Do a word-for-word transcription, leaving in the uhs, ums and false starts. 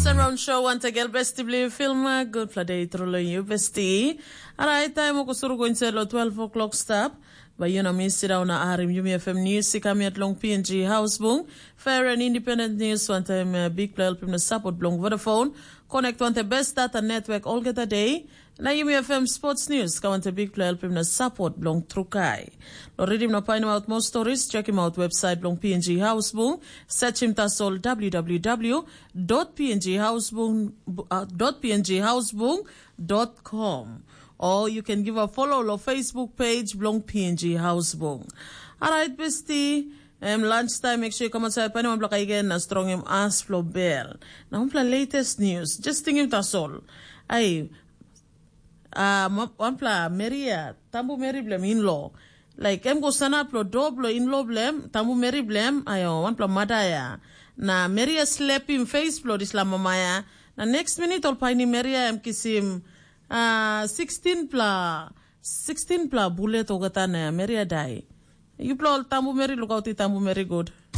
Sunround Show wantegel besti bilong filma gutpela de tru long yu besti. Alright, taim o kusuru go insait long twelve o'clock stap. Bai yu na mi sit down na harim Yumi F M News i kam yet long P N G House Bung. Fair and independent news wantaim uh, big play helpim na support bilong Vodafone. Connect wantaim best data network olgeta day. Na Yumi F M Sports News ka wantaim big play helpim na support bilong Trukai. Lo redim na painim out more stories, check him out website bilong P N G House Bung. Search him tasol w w w dot p n g house bung uh, dot p n g house bung dot com. Or you can give a follow lo Facebook page bilong P N G House Bung. Alright, bestie. Em lunch time, make sure you come outside. Painim wanpela kai gen na strongim as flo bel. Na wanpela latest news. Just tingim tasol. Ai, uh, wanpela Maria, tambu meri bilem inlo. Like, em go sanap lo do blo inlo bilem, tambu meri bilem, ayo, wanpela madaya. Na Maria slepim face blo disla mamaya. Na next minute ol painim Maria em kisim uh, sixteen pla sixteen pla bulet ogata na Maria dai. Yupela ol tambu meri lukauti tambu meri good.